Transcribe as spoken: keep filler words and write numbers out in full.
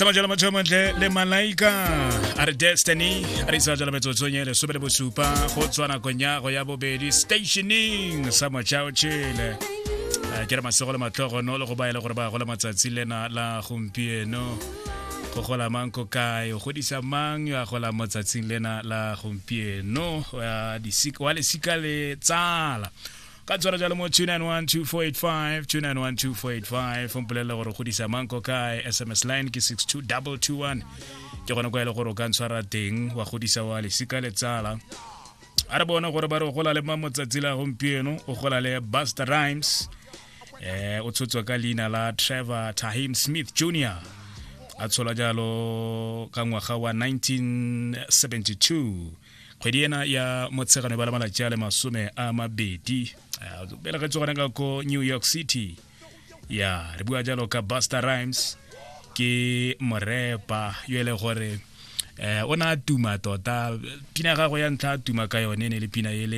Sama jalo motho montle le Malaika a re Destiny a re isa jalo metsotsong e lesome le bosupa go tswa nakong ya go ya bobedi stationing sa Motšhaotšhele. Eh, ke re masego le matlhogono le go ba e le gore ba gola matsatsi lena la gompieno. Go gola mang ko kae, o godisa mang yo a gola mo tsatsing lena la gompieno, wa disika- wa lesika le tsala ka tshwara jalo mo two nine one two four eight five, two nine one two four eight five. Mpolelele gore o godisa mang ko kae. S M S line ke six two two two one, ke gone kwa e le gore o ka ntshwara teng wa godisa wa lesika le tsala. A re bone gore ba re o gola le mang motsatsi la gompieno. O gola le Buster Rhymes. eh o tshotswe ka leina la Trevor Tahim Smith Junior, a tsholwa jalo ka ngwaga wa nineteen seventy-two, kgwedi ena ya Motshegano ba le malatsi a le masome a mabedi. Eh, o belegetswe gone ka ko New York City. Ya re bua jalo ka Buster Rhymes, ke morepa yo e le gore eh o ne a tuma tota. Pina ya gagwe ya ntlha a tuma ka yone e ne le pina ele